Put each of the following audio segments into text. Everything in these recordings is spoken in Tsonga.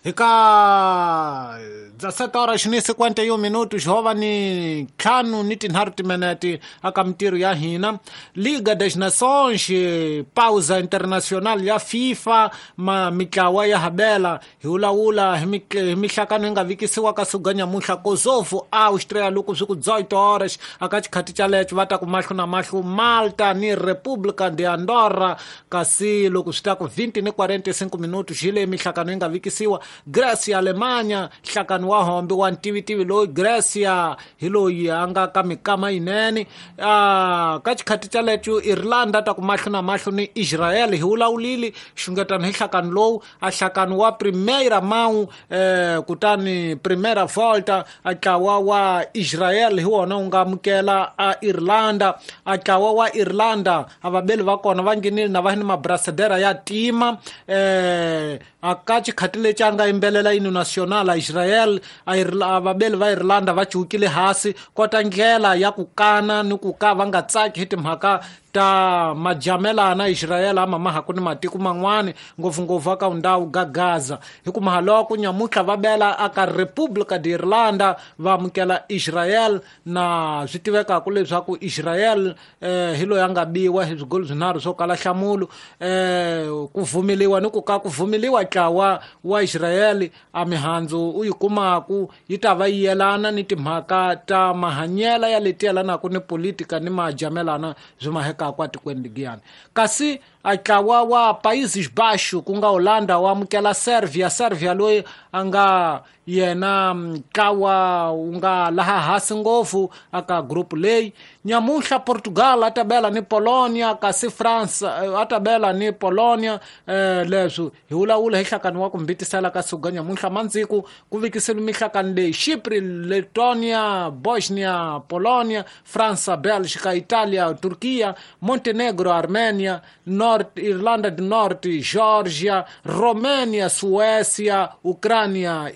Hi ka 17 horas ni 51 minutos hova ni ntlhanu ni tinharhu timinete aka mintirho ya hina. Liga das Nações, pausa internacional ya FIFA, ma mitlawa ya habela hi vulavula hi mihlakano yi nga vikisiwa ka siku nyamuntlha. Kosovo Austria loko swi ku 18 horas aka xikhati xalecho va ta ku mahlo na mahlo Malta ni República de Andorra, kasi loko swi ta ku 20 ni 45 minutos hi leyi mihlakano yi nga vikisiwa. Grecia Alemanha, nhlakano wa hombe wa ntivitivi loyi Grecia hi loyi a nga ka mikama yinene. Ka xikhati xalecho Irlanda ta ku mahlo na mahlo ni Israel. Hi vulavulile xungetano hi nhlakano lowu, a nhlakano wa Primeira Mão, kutani Primeira Volta a ntlawa wa Israel hi wona wu nga amukela a Irlanda. A ntlawa wa Irlanda a vabeli va kona va nghenile na va ni mabrasadera ya tima. A ka xikhati lexi a nga yimbelela yini national a Israel, a vabeli va Irlanda va cukile hasi kota ndlela ya ku kana ni ku ka va nga tsaki hi timhaka ta majamelana Israel ama mahaku ni matiko man'wani ngopfungopfu aka ndhawu ga Gaza. Hi ku mahaloko nyamuntlha va bela aka República de Irlanda va amukela Israel, na swi tivekaka leswaku Israel hi loyi a nga biwa hi swigolo swinharhu swo kala nhlamulo. Ku vumeliwa ni ku ka ku vumeliwa ntlawa wa Israel a mihandzu u yi kumaku yi ta va yi yelana ni timhaka ta mahanyela ya leti yelanaka ni politika ni majamelana byi mahekaka atikweni ligiyani. Kasi a ntlawa wa Países Baixos ku nga Holanda wa amukela Serbia. Serbia loyi a nga yena ntlawa wu nga laha hansi ngopfu aka group leyi. Nyamuntlha Portugal a ta bela ni Polonia, kasi France a ta bela ni Polonia. Leswi hi vulavula hi nhlakano wa ku mbitisela ka siku nyamuntlha mandziku ku vikisile mihlakano leyi: Chypre, Letonia, Bosnia, Polonia, France, Belgica, Italia, Turkiya, Montenegro, Armenia, North Irlanda do Norte, Georgia, Romênia, Suécia, Ucrânia,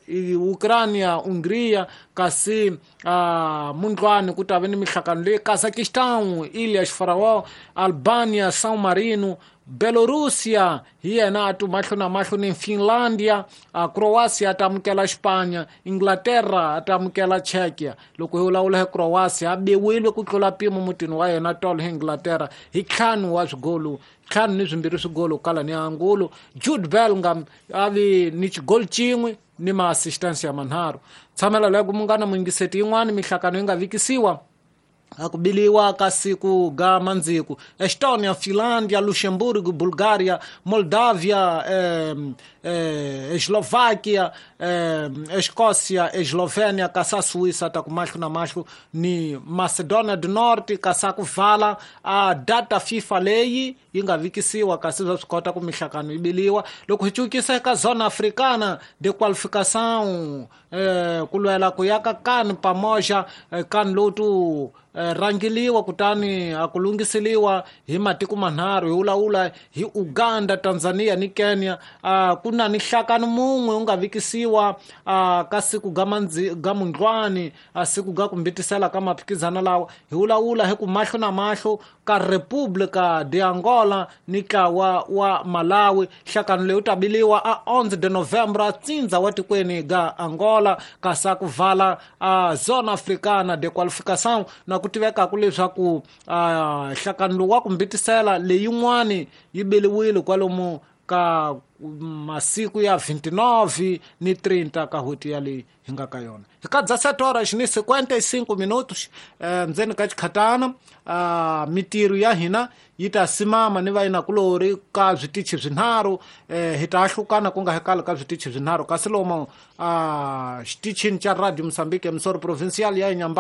Ucrânia, Hungria, kasi mundlwani ku ta va ni mihlakano leyi: Kazakhstan, Ilhas Faroe, Albania, São Marino, Belorusia hi yena a tu mahlo na mahlo ni Finlandia, Croatia a ta amukela Spanya, Inglaterra a ta amukela Czechia. Loko hi vulavula hi Croatia, a biwile ku tlula mpimo mutini wa yena tolo hi Inglaterra hi ntlhanu wa swigolo, ntlhanu ni swimbirhi swigolo kala ni angulo. Jude Bellingham a vi ni xigolo xin'we ni ma-assistance ya manharhu. Tshamela loko munghana muyingiseti yin'wani mihlakano yi nga vikisiwa a ku biliwa ka siku ga mandziku: Estonia, Finlandia, Luxemburgo, Bulgaria, Moldavia, Eslovaquia, Escócia, Eslovênia, kasi Suíça ta ku mahlo na mahlo ni Macedonia do Norte, kasi ku vala a data FIFA leyi yi nga vikisiwa, kasi swa swi kota ku mihlakano yi biliwa. Loko hi cukisa eka zona africana de qualificação, ku lwela ku ya ka kan pamoja, kan lowu tu rangiliwa kutani a ku lunghiseliwa hi matiko manharhu, hi vulavula hi Uganda, Tanzania ni Kenya. Ku na ni nhlakano mun'we wu nga vikisiwa ka siku ga ga mundlwani, a siku ga ku mbitisela ka maphikizana lawa. Hi vulavula hi ku mahlo na mahlo ka República de Angola ni ntlawa wa Malawi. Nhlakano leyi wu ta biliwa a 11 de novembro a tsindza wa tikweni ga Angola, kasi a ku vala a zona africana de qualificação. Na ku tivekaka leswaku nhlakano lowu wa ku mbitisela leyin'wani yi beliwile kwalomu ka masiku ya 29 ni 30 ka n'hweti ya leyi hi nga ka yona. Hi ka 17 horas ni 55 minutos, ndzeni ka xikhatana, mitirho ya hina yi ta simama ni vayinakulori ka switichi swinharhu. Hi ta ahlukana ku nga hekali ka switichi swinharhu, kasi lomu xitichini xa Radio Mozambique Emissora Provincial ya Inyamba.